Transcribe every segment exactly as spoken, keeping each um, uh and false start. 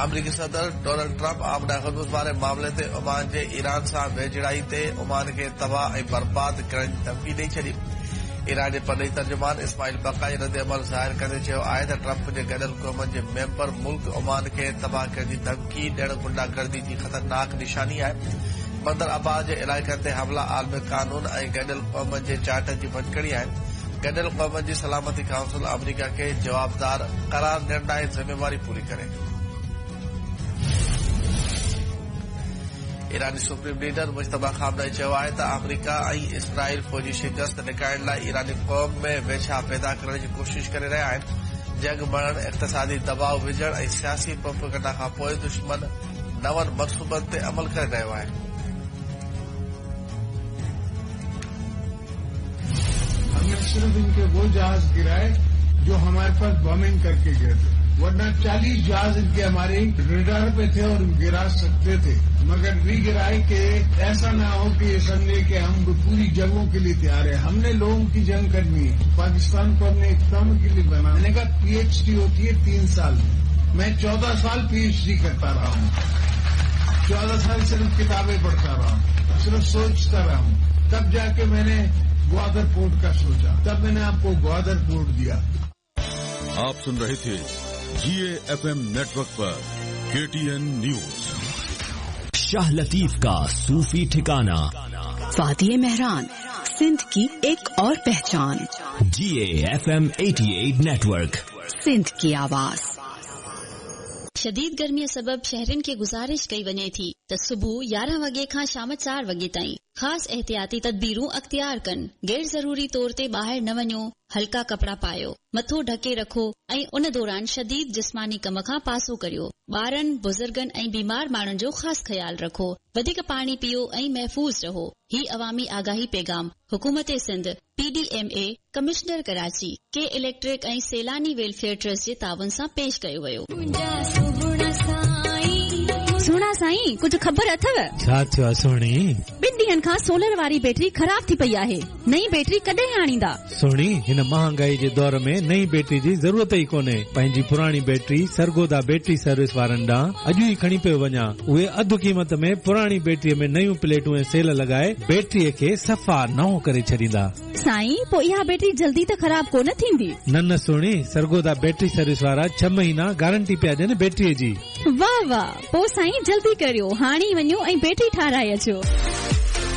آمريڪي صدر Donald Trump آبنائي Hormuz واري معاملي تي عمان جي ايران سان ويجهڙائي تي عمان کي تباهه ۽ برباد ڪرڻ جي ڌمڪي ڏئي ڇڏي. ايران جي پرڏيهي ترجمان اسماعيل بقائي رد عمل ظاهر ڪندي چيو آهي ته ٽرمپ جي گڏيل قومن جي ميمبر ملڪ عمان کي تباهه ڪرڻ جي ڌمڪي ڏيڻ گنڊاگردي جي خطرناڪ نشاني آهي. بندر عباس جي علائقن تي حملا عالمي قانون ۽ گڏيل قومن جي چارٽر جي ڀڃڪڙي آهن. گڏيل قومن جي سلامتي ڪائونسل آمريڪا کي جوابدار قرار ڏيڻ لاءِ ذميواري پوري ڪري. ايراني سپريم ليڊر مجتبيٰ خامنائي چيو آهي ته آمريڪا ۽ اسرائيل فوجي شڪست لڪائڻ لاءِ ايراني قوم ۾ ويڇا پيدا ڪرڻ جي ڪوشش ڪري رهيا آهن. جنگ مڙهڻ، اقتصادي دٻاءُ وجهڻ ۽ سياسي پروپيگنڊا کان پوءِ دشمن نون منصوبن تي عمل ڪري رهيو آهي. हमने सिर्फ इनके वो जहाज गिराए जो हमारे पास बॉम्बिंग करके गए थे, वरना चालीस जहाज इनके हमारे रेडार पे थे और गिरा सकते थे, मगर भी गिराए कि ऐसा ना हो कि ये समझे कि हम पूरी जंगों के लिए तैयार है। हमने लोगों की जंग करनी है। पाकिस्तान को हमने इकोनॉमी के लिए बना। मैंने कहा पीएचडी होती है तीन साल, मैं चौदह साल पीएचडी करता रहा हूँ। चौदह साल सिर्फ किताबें पढ़ता रहा हूँ, सिर्फ सोचता रहा हूँ। तब जाके मैंने ग्वादर पोर्ट का सोचा, तब मैंने आपको ग्वादर पोर्ट दिया। आप सुन रहे थे जी एफ एम नेटवर्क पर K T N news. Shah Latif का सूफी ठिकाना, वादी मेहरान, सिंध की एक और पहचान। जी एफ एम अठासी नेटवर्क, सिंध की आवाज। शदीद गर्मीअ सबब शहरियुनि खे गुज़ारिश कई वञे थी त सुबुह यारहं वॻे खां शाम चार वॻे ताईं ख़ासि एहतियाती तदबीरूं अख़्तियार कनि। गैर ज़रूरी तौर ते ॿाहिरि न वञो, हल्का कपिड़ा पायो, मथो ढके रखो ऐं उन दौरान शदीद जिस्मानी कम खां पासो करियो। ॿारनि, बुज़ुर्गनि ऐं बीमार माण्हुनि जो ख़ासि ख़्यालु रखो। वधीक पाणी पियो ऐं महफ़ूज़ रहो। ही अवामी आगाही पैगाम हुकूमत Sindh, P D M A, commissioner Karachi, K electric ऐं सैलानी वेलफेयर ट्रस्ट जे ताउन सां पेश कयो वियो। सुहिणा साईं, कुझु ख़बर अथव? छा थियो आहे सुहिणी? ॿिनि ॾींहनि खां सोलर वारी बैटरी ख़राब थी पई आहे। नई बैटरी कॾहिं आणींदा? सुहिणी, हिन महांगाई जे दौर में नई बैटरी जी ज़रूरत ई कोन्हे। पंहिंजी पुराणी बैटरी सरगोदा बैटरी सर्विस वारनि ॾांहुं अॼु ई खणी पियो वञा। उहे अधु क़ीमत में पुराणी बैटरीअ में नयूं प्लेटूं ऐं सेल लॻाए बैटरीअ खे सफ़ा नओं करे छॾींदा। साईं, पोइ इहा बैटरी जल्दी त ख़राब कोन थींदी? न न सुहिणी, सरगोदा बैटरी सर्विस वारा छह महीना गारंटी पिया ॾियनि बैटरीअ जी। वाह वाह, पोइ साईं जल्दी करियो, हाणे ई वञो ऐं बैटरी ठाराए अचो।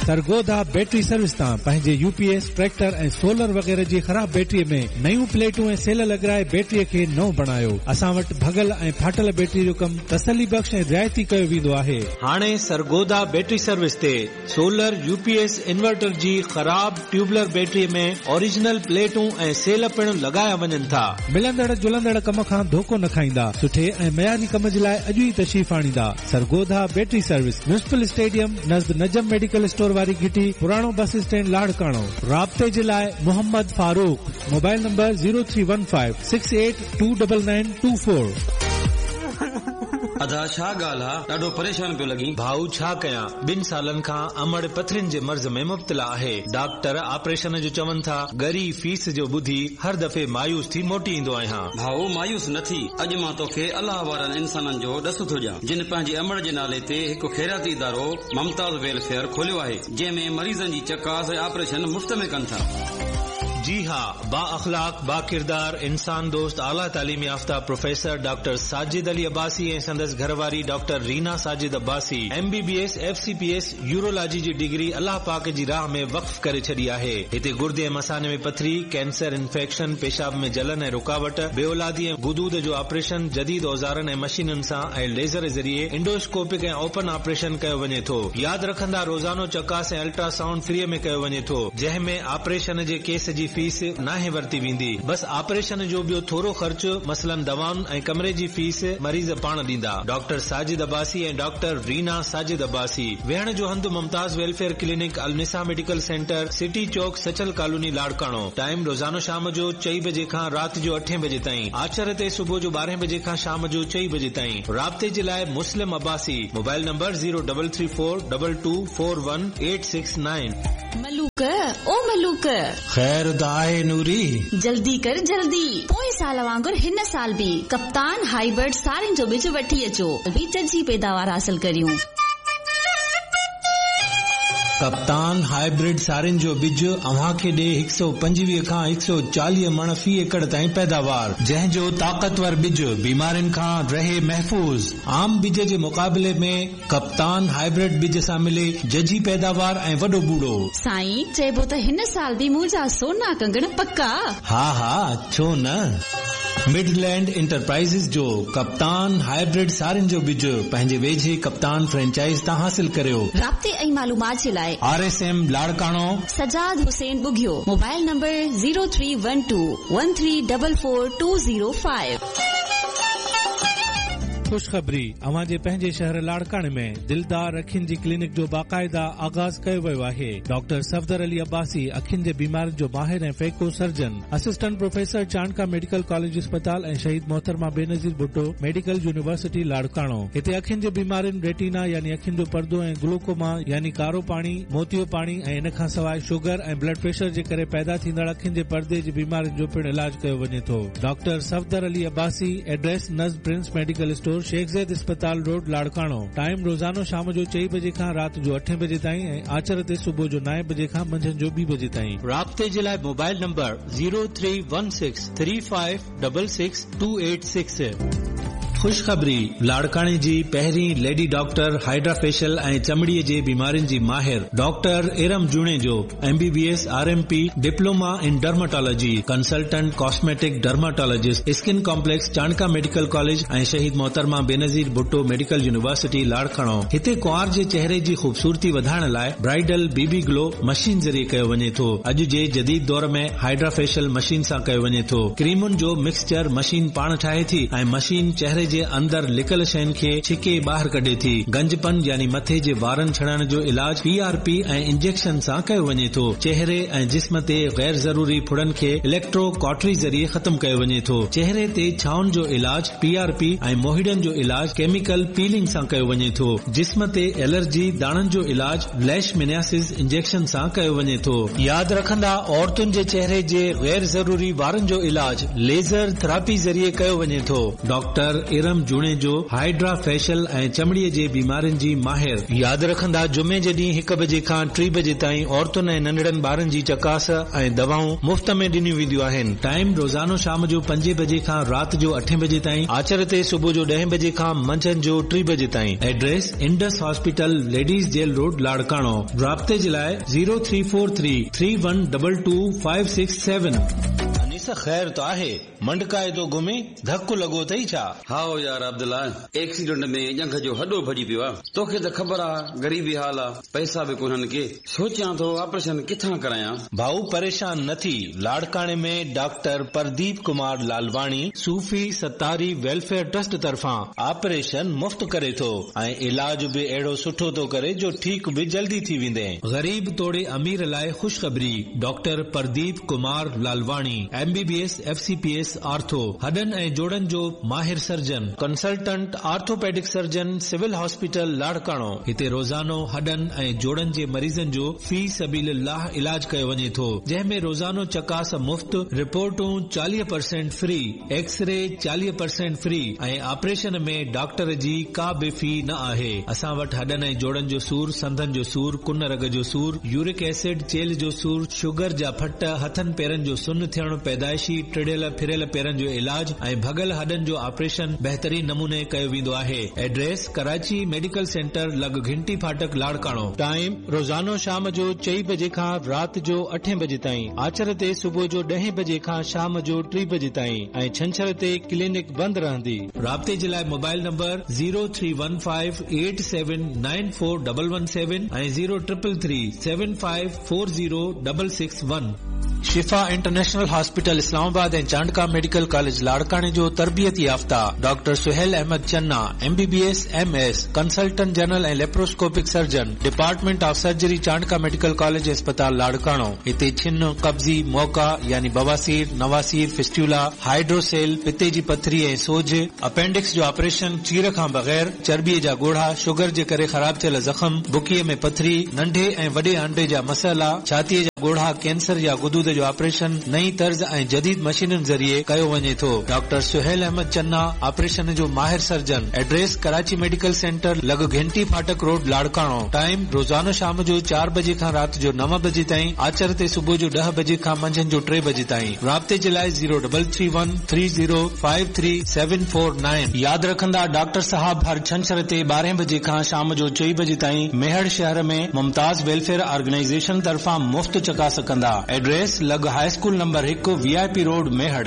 सरगोदा बैटरी सर्विस तां पंहिंजे यूपीएस, ट्रैक्टर ऐं सोलर वग़ैरह जी ख़राब बैटरीअ में नयूं प्लेटूं ऐं सेल लॻाए बैटरीअ खे नओं बणायो। असां वटि भॻल ऐं फाटल बैटरी जो कमु तसली बख़्श ऐं रिआयती कयो वेंदो आहे। हाणे सरगोदा बैटरी सर्विस ते सोलर, यूपीएस, इन्वर्टर जी ख़राब ट्यूबुलर बैटरीअ में ओरिजिनल प्लेटूं ऐं सेल पिणु लॻाया वञनि था। मिलंदड़ जुलंदड़ कम खां धोखो न खाईंदा। सुठे ऐं मयारी कम जे लाइ अॼु ई तशरीफ़ आणींदा। Sargodha battery service, municipal stadium नज़द नजम मेडिकल स्टोर वारी घिटी, पुराणो बस स्टैंड लाड़काणो। राब्ते जे लाइ Mohammad Farooq, mobile number zero three one five six eight two double nine two four. अदा छा ॻाल्हि आहे, ॾाढो परेशान पियो लॻी। भाऊ छा कयां, ॿिनि सालनि खां अमड़ पथरियुनि जे मर्ज़ में मुब्तला आहे। डॉक्टर ऑपरेशन जो चवनि था, ॻरी फीस जो ॿुधी हर दफ़े मायूस थी मोटी ईंदो आहियां। भाऊ मायूस न थी, अॼु मां तोखे अलाह वारनि इंसाननि जो ॾस थो ॾियां, जिन पंहिंजी अमड़ जे नाले ते हिकु ख़ैराती इदारो ममताज़ वेलफेयर खोलियो आहे, जंहिं में मरीज़नि जी चकास ऐं ऑपरेशन मुफ़्त में कनि था। जी हा, बा अख़लाक, बा किरदार, इंसान दोस्त, आला तालीम याफ़्ता प्रोफेसर डॉक्टर साजिद अली अब्बासी ऐं संदसि घरवारी doctor Reena Sajid Abbasi M B B S, F C P S, urology जी डिग्री अलाह पाक जी राह में वक़्फ़ करे छॾी आहे। हिते गुर्दे ऐं मसाने में पथरी, कैंसर, इन्फेक्शन, पेशाब में जलन ऐं रुकावट, बेऔलादी ऐं गुदूद जो ऑपरेशन जदीद औज़ारनि ऐं मशीनुनि सां ऐं लेज़र ज़रिए एंडोस्कोपिक ऐं ओपन ऑपरेशन कयो वञे थो। यादि रखंदा, रोज़ानो चकास ऐं अल्ट्रासाउंड फ्रीअ में कयो वञे थो, जंहिं में ऑपरेशन जे केस जी फीस नाहे वरती वेंदी। बस ऑपरेशन जो ॿियो थोरो ख़र्च, मसलन दवाउनि ऐं कमरे जी फीस मरीज़ पाण ॾींदा। डॉक्टर साजिद अब्बासी ऐं डॉक्टर रीना साजिद अब्बासी। वेहण जो हंधु Mumtaz welfare clinic, Alnisa medical centre, city Chowk, Sachal colony, Larkana. Time रोज़ानो शाम जो चई बजे खां राति जो अठे बजे ताईं। आचर ते सुबुह जो ॿारहें बजे खां शाम जो चई बजे ताईं। राब्ते जे लाइ Muslim Abbasi, mobile number zero double three four double two four one eight six nine. Malook, ओ मलूक। ख़ैर त आहे नूरी। जल्दी कर जल्दी, पोएं साल वांगुर हिन साल बि कप्तान हाइब्रिड सारियुनि जो ॿिज वठी अचो, बि जजी पैदावार हासिल करियूं। कप्तान हाइब्रिड सारियुनि जो ॿिज अव्हां खे ॾे हिकु सौ पंजवीह खां हिकु सौ चालीह मण फी एकड़ ताईं पैदावार, जंहिंजो ताक़तवर ॿिज बीमारियुनि खां रहे महफ़ूज़। आम ॿिज जे मुक़ाबले में कप्तान हाइब्रिड ॿिज सां मिले जजी पैदावार ऐं वॾो बूड़ो। साईं चइबो त हिन साल बि मुंहिंजा सोना कंगण पका। हा हा, छो न। मिडलैंड इंटरप्राइज़ जो कप्तान हाइब्रिड सारियुनि जो ॿिज पंहिंजे वेझे कप्तान फ्रेंचाइज़ तां हासिल करियो। राब्ते ऐं मालूमात जे लाइ R S M Larkana, Sajjad Hussain Bughio, mobile number zero three one two one three double four two zero five. ख़ुशख़बरी, अव्हां जे पंहिंजे शहर लाड़काणे में दिलदार अखियुनि जी क्लिनिक जो बाक़ाइदा आगाज़ कयो वियो आहे। डॉक्टर सफ़दर अली अब्बासी अखियुनि जे बीमारियुनि जो माहिर ऐं phaco surgeon, assistant professor Chandka medical college अस्पताल ऐं शहीद मोहतरमा बेनज़ीर भुट्टो मेडिकल यूनिवर्सिटी लाड़काणो। हिते अखियुनि जे बीमारियुनि रेटिना यानी अखियुनि जो पर्दो ऐं ग्लूकोमा यानी कारो पाणी, मोतियो पाणी ऐं इन खां सवाइ शुगर ऐं ब्लड प्रेशर जे करे पैदा थींदड़ अखियुनि जे पर्दे जी बीमारियुनि जो पिणु इलाज कयो वञे थो। डॉक्टर सफ़दर अली अब्बासी, एड्रेस नज़ prince medical store, Sheikh Zayed अस्पताल रोड, लाड़काणो। टाइम रोज़ानो शाम जो चई बजे खां राति जो अठे बजे ताईं ऐं आचर ते सुबुह जो नाइन बजे खां मंझंदि जो ॿी बजे ताईं। राब्ते जे लाइ mobile number zero three one six three five double six two eight six. ख़ुशख़बरी, लाड़काणे जी पहिरीं लेडी डॉक्टर हाइड्रा फेशियल ऐं चमड़ीअ जे बीमारियुनि जी माहिर doctor Iram Junejo, M B B S, R M P, diploma in dermatology, consultant cosmetic dermatologist, skin complex Chandka medical college ऐं शहीद मोहतरमा Benazir Bhutto medical university Larkana. हिते कुंवार जे चेहरे जी ख़ूबसूरती वधाइण लाइ ब्राइडल बीबी ग्लो मशीन ज़रिए कयो वञे थो। अॼु जे जदीद दौर में हाइड्रा फेशियल मशीन सां कयो वञे थो। क्रीमुनि जो मिक्सचर मशीन पाण ठाहे थी ऐं मशीन चेहरे जे अंदर लिकल शयुनि खे छिके ॿाहिरि कढे थी। गंजपन यानी मथे जे वारनि छड़ाइण जो इलाज पी आर पी ऐं इंजेक्शन सां कयो वञे थो। चेहरे ऐं जिस्म ते गैर ज़रूरी फुड़नि खे इलेक्ट्रो कॉटरी ज़रिए ख़त्म कयो वञे थो। चेहरे ते छाउनि जो इलाज पी आर पी ऐं मोहिड़नि जो इलाज केमिकल पीलिंग सां कयो वञे थो। जिस्म ते एलर्जी दाणनि जो इलाज लैशमेनियासिस इंजेक्शन सां कयो वञे थो। यादि रखंदा, औरतुनि जे चेहरे जे गैर ज़रूरी वारनि जो इलाज लेज़र थेरापी ज़रिए कयो वञे थो। डॉक्टर इरम जुणेजो हाइड्रा फेशियल ऐं चमड़ीअ जे बीमारियुनि जी माहिर। यादि रखंदा, जुमे जे ॾींहुं हिकु बजे खां टे बजे ताईं औरतुनि ऐं नंढड़नि ॿारनि जी चकास ऐं दवाऊं मुफ़्त में ॾिनियूं वेंदियूं आहिनि। टाइम रोज़ानो शाम जो पंजे बजे खां राति जो अठे बजे ताईं, आचर ते सुबुह जो ॾहें बजे खां मंझंदि जो टे बजे ताईं। Address Indus hospital, ladies jail road, Larkana. राब्ते जे लाइ zero three four three three one double two five six seven. Anees, ख़ैर त आहे, मंडकाए थो घुमे, धक लॻो अथई छा? हा यार अब्दुल्ला, एक्सीडेंट में ॼंघ जो हॾो भॼी पियो आहे। तोखे त ख़बर आहे ग़रीबी हाल आहे, पैसा बि कोन्हनि के। सोचियां थो ऑपरेशन किथां करायां। भाऊ परेशान न थी, लाड़काणे में doctor Pradeep Kumar Lalwani Sufi Sattari welfare trust तरफ़ां ऑपरेशन मुफ़्त करे थो ऐं इलाज बि अहिड़ो सुठो थो करे जो ठीक बि जल्दी थी वेंदे। ग़रीब तोड़े अमीर लाइ ख़ुशख़बरी, doctor Pradeep Kumar Lalwani, M B B S, F C P S, ortho, हॾनि ऐं जोड़नि जो माहिर surgeon, consultant orthopaedic surgeon, civil hospital Larkana. हिते रोज़ानो हॾनि ऐं जोड़नि जे मरीज़नि जो फी सबीलिल्लाह इलाज कयो वञे थो, जंहिं में रोज़ानो चकास मुफ़्त, रिपोर्टूं चालीह परसेंट फ्री, एक्सरे चालीह परसेंट फ्री ऐं ऑपरेशन में डॉक्टर जी का बि फी न आहे। असां वटि हॾनि ऐं जोड़नि जो सूर, संधनि जो सूर, कुन रग जो सूर, यूरिक एसिड, चेल्ह जो सूर, शुगर जा फट, हथनि पेरनि जो सुन थियणु, पैदाइशी टिड़ियल फिरियल पेरनि जो इलाज ऐं भॻल हॾनि जो ऑपरेशन बहितरीन नमूने कयो वेंदो आहे। एड्रेस कराची मेडिकल सेंटर लॻ घिंटी फाटक लाड़काणो। टाइम रोज़ानो शाम जो चई बजे खां राति जो अठे बजे ताईं, आचर ते सुबुह जो ॾहें बजे खां शाम जो टे बजे ताईं ऐं छंछर ते क्लिनिक बंदि रहंदी। राब्ते जे लाइ mobile number zero three one five eight seven nine four double one seven ऐं zero triple three seven five four zero double six one. Shifa international hospital Islamabad ऐं चांडका मेडिकल कॉलेज लाड़काणे जो तरबियत याफ़्ता doctor Sohail Ahmed Channa M B B S M S consultant general ऐं laparoscopic surgeon department of surgery Chandka medical college अस्पताल लाड़काणो। हिते छिन, कब्ज़ी, मौका यानी बवासीर, नवासीर, फिस्टुला, हाइड्रोसेल, पित्ते जी पथरी ऐं सोज, अपेंडिक्स जो ऑपरेशन चीर खां बग़ैर, चर्बीअ जा ॻोढ़ा, शुगर जे करे ख़राब थियल ज़ख़म, बुकीअ में पथरी, नंढे ऐं वॾे आंडे जा मसइला, छातीअ जा ॻोढ़ा, कैंसर या गुदूद जो ऑपरेशन नई तर्ज़ ऐं जदीद मशीनुनि ज़रिए कयो वञे थो। डॉक्टर सुहेल अहमद चन्ना ऑपरेशन जो माहिर surgeon. Address Karachi medical centre लॻ घंटी फाटक रोड लाड़काणो। टाइम रोज़ानो शाम जो चार बजे खां राति जो नव बजे ताईं, आचर ते सुबुह जो ॾह बजे खां मंझंदि जो टे बजे ताईं। राब्ते जे लाइ zero double three one three zero five three seven four nine. यादि रखंदा डॉक्टर साहब हर छंछर ते ॿारहें बजे खां शाम जो चई बजे ताईं मेहड़ शहर में मुमताज़ वेलफेयर ऑर्गेनाइजेशन तरफ़ां मुफ़्त चकास कंदा। एड्रेस लॻ हाई स्कूल नंबर हिकु V I P road Mehar.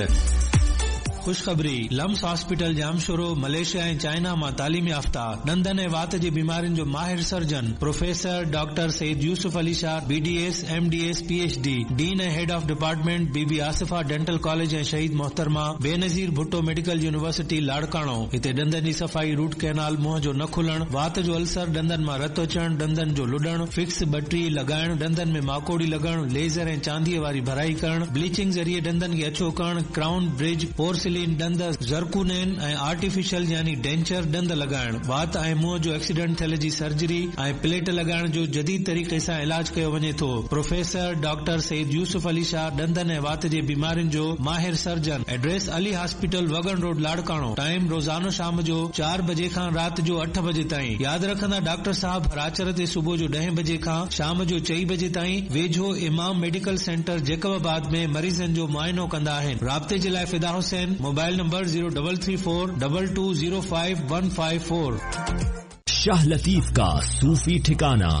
खुशखबरी, लम्स हॉस्पिटल जामशोरो मलेशिया ऐं चाइना मां तालीम याफ़्ता ॾंदनि ऐं वात जी बीमारियुनि जो माहिर surgeon professor doctor Syed Yusuf Ali Shah B D S M D S P H D, dean ऐं head of department Bibi Asifa dental college ऐं शहीद मोहतरमा बेनज़ीर भुट्टो मेडिकल यूनिवर्सिटी लाड़काणो। हिते ॾंदनि जी सफ़ाई, रूट कैनाल, मुंहं जो न खुलणु, वात जो अल्सर, ॾंदनि मां रत अचणु, ॾंदनि जो लुॾणु, फिक्स बटरी लॻाइणु, ॾंदनि में माकोड़ी लॻणु, लेज़र ऐं चांदीअ वारी भराई करणु, ब्लीचिंग ज़रिए ॾंदनि खे अछो करणु, क्राउन ब्रिज, पोर्सिलिन ॾंद, ज़रकूनेन ऐं आर्टिफिशियल यानी डेंचर ॾंद लॻाइणु, वात ऐं मुंहं जो एक्सीडेंट थियल जी सर्जरी ऐं प्लेट लॻाइण जो जदीद तरीक़े सां इलाज कयो वञे थो। प्रोफेसर डॉक्टर सैयद यूसुफ अली शाह ॾंदनि ऐं वात जे बीमारियुनि जो माहिर surgeon. Address Ali hospital Wagan road Larkana. Time रोज़ानो शाम जो चार बजे खां राति जो अठ बजे ताईं। यादि रखंदा डॉक्टर साहब हर आचर ते सुबुह जो ॾहें बजे खां शाम जो चई बजे ताईं वेझो इमाम मेडिकल सेंटर जैकबाबाद में मरीज़नि जो मुआइनो कंदा आहिनि। राब्ते जे लाइ Fida Hussain, mobile number zero double three four double two zero five one five four. Shah Latif का सूफी ठिकाना,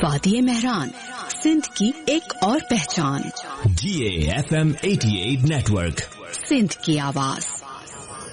वादी मेहरान, सिंध की एक और पहचान। G A F M eighty eight network, Sindh की आवाज।